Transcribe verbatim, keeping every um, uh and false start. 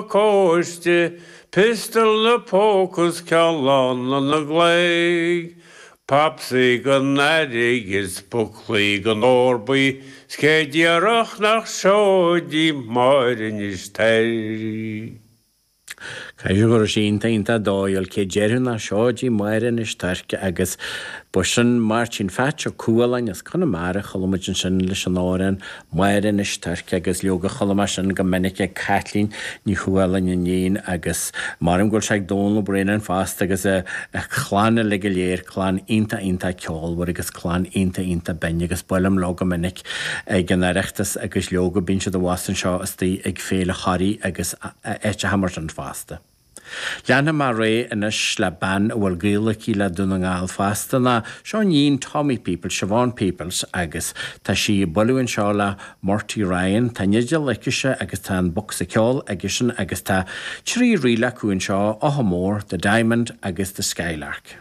Pacáiste piostal na póca 's ceann na gclaig, Popsaí don earraigh is buclaí don ór buí, 's cé déarfadh nach seoid í Máire Inis Toirc. Caithfidh go raibh sé iontach iontach dóighiúil cé déarfadh nach seoid í Máire Inis Toirc agus ba sin Máirtín Pheaits Ó Cualáin as Conamara chuala muid ansin leis an amhrán Máire Inis Toirc agus leoga chuala mé sin go minic ag Caitlín Ní Chualáin iníon agus maram go bhfuil sé ag Dónal Ó Braonáin fosta agus a chlann uilig go léir clann iontach iontach ceolmhar agus clann iontach iontach binn agus buailim leo go minic ag an Oireachtas agus leoga bíonn siad abhus anseo istigh ag Féile Thoraí agus áiteacha mar sin fosta. Leanfaidh mé ar aghaidh anois le bean a bhfuil gaol aici le Dún na nGall fosta ná seo iníon Tommy Peoples, Siobhán Peoples agus tá sí ag bualadh anseo le Murty Ryan, Tá an fhidil aicise agus tá an bocsa ceoil aigesean agus tá trí ríl acu anseo, Átha Mór, The Diamond agus The Skylark.